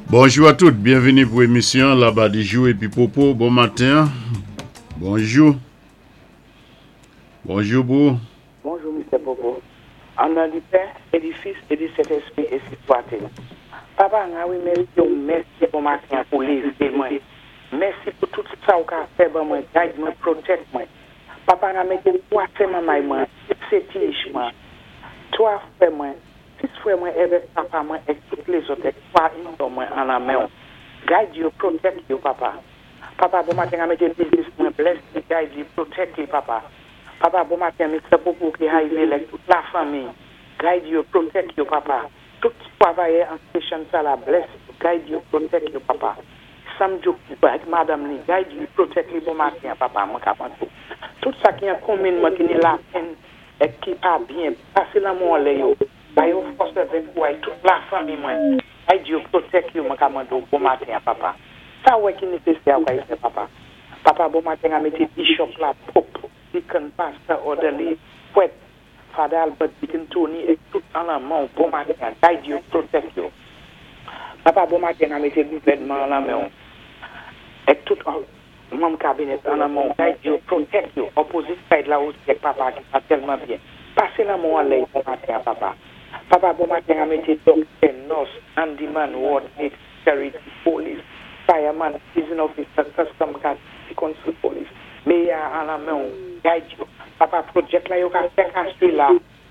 Bonjou a tout, byenvini pou emisyon Labadijou epi Popo. Bon maten, bonjou. Bonjou pou. Bonjou Mistè Popo. An non di Pè, é di Fis, é di Sentespri ensi swatil. Papa Rawi mèsi w mèsi bon maten an pou lévé mwen mèsi pou tout sa w ka fè ban mwen guide mwen protect mwen Papa ra mété 3 sè manmay mwen 6 sé tiyich mwen 3 frè mwen 6 frè mwen èvèk papa mwen èk tout lézòt èk 3 in-law mwen an lan men w guide yo protect yo papa Papa bon maten ra mété biznis mwen bless li guide li protect li papa Papa bon maten Mister Popo ki Haïvé lèk tout la fanmi guide yo protect yo papa tout travayè an station sa la bless yo guide yo protect yo papa Sam Jouk ak madanm li guide li protect li bon maten papa mwen ka mande w tout sa ki an konmin mwen ki ni lapenn èk ki pa byen pase lanmou anlè yo ba yo fòs èvèk kouray tout la fanmi mwen guide yo protect yo mwen ka mande w bon maten papa sa w wè ki nesesè a w ka y fè papa Papa bon maten a mété bishop la pope deacon pastor orderly prèt Father Albert deacon Tony èk tout an lan men w bon maten a guide yo protect yo papa bon maten a mété gouvènman an lan men w èk tout manm kabinèt an lan men w guide yo protect yo opposite side la osi èk papa ki pa tèlman byen pasé lanmen w anlè bon maten a papa papa bon maten a mété doktè nurse handyman ward Security, Police, Fireman, Prison Officer, Custom Guard, City Council Police, Meyè a an lan men w, guide yo, papa project la yo ka fè kastri la,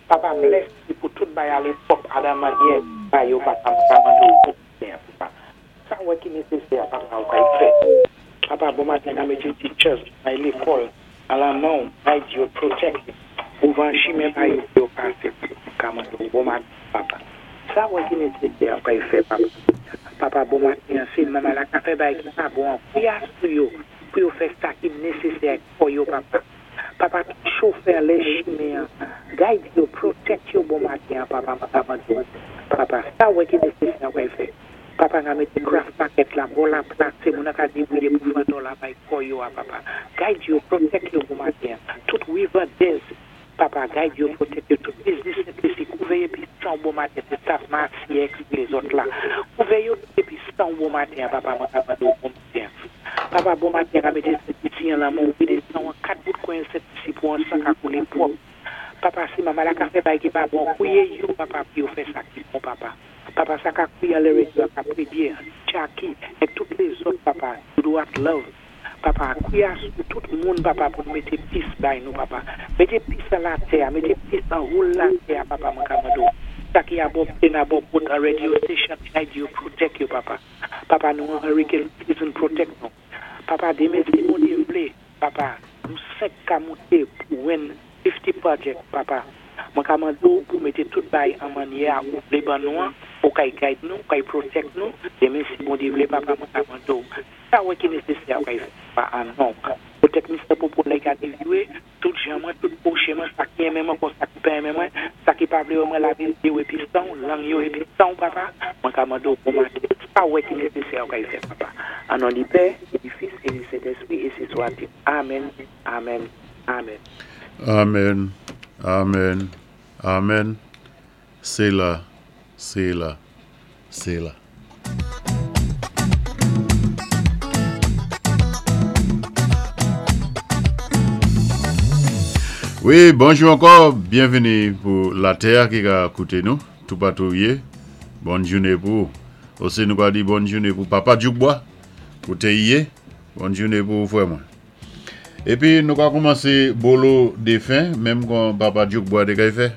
papa bless li pou tout bay alé pwòp adan manyè ba yo papa m ka mande w bon maten papa sa w wè ki nesesè a papa ou ka y fè papa bon maten ka mété teachers bay lékòl an lan men w guide yo protect yo ouvan chimen ba yo pou yo pasé papa m ka mande w bon maten papa sa w wè ki nesesè a ou ka y fè papa papa bon maten an se manman la ka fè bagay ki pa bon an kouya sou yo pou yo fè sa ki nesesè ak kò yo papa papa tout chofè lè chimen an guide yo protect yo bon maten an papa mwen ka mande w papa sa w wè ki nesesè a ou ka y fè papa nga mété craft market la bò la plase moun an ka débrouiller pou fè dòla bay kò yo a papa guide yo protect yo bon maten an tout rivendez papa guide yo protect yo tout biznis Sent-Lisi kouvè épi sanw bon maten se staff Masi ex lézòt la kouvè yo tout épi sanw bon maten an papa mwen ka mande w bon maten an papa bon maten ka mété Sent-Lisi an lan men w vide sanw an 4 bout kwen Sent-Lisi pou an sank ka koulé pwòp papa si mama la ka fè bay ki pa bon kouye yo papa pou yo fè sa ki bon papa papa sa ka kouye anlè radio a ka prédye Jackie èk tout lézòt papa Dodo ak love papa kouya sou tout moun papa pou nou mété peace bay nou papa mété peace an latè a mété peace an whole latè a papa mwen ka mande w sa ki abò plane abò boat an radio station guide yo protect yo papa papa nou an hurricane season protect nou papa demen si Bondye vlé papa nou 5 ka mouté pou win 50 project papa mwen ka mande w pou mété tout bay an manyè a ou vlé ban nou an ou kay guide nou ou kay protect nou demen si Bondye vlé papa mwen ka mande w sa w wè ki nesesè a ou kay fè papa an non protect Mr. Popo lè gade view tout jan mwen tout pwochen mwen sa ki renmen mwen kon sa ki pa renmen mwen sa ki pa vlé wè mwen lavé zye w épi sanw lang yo épi sanw papa mwen ka mande w bon maten sa w wè ki nesesè a ou kay fè papa an non di Pè é di Fis é di Sentespri ensi swatil amen amen amen. Amen amen amen Sela sela sela. Wi bonjou ankò byenvini pou latè a ki ka koute nou toupatou ou ye bòn joune pou ou osi nou ka di bòn joune pou papa Djoukbwa kote y ye bòn joune pou ou frè mwen epi nou ka koumanse bolo defen menm kon papa Djoukbwa te kay fè.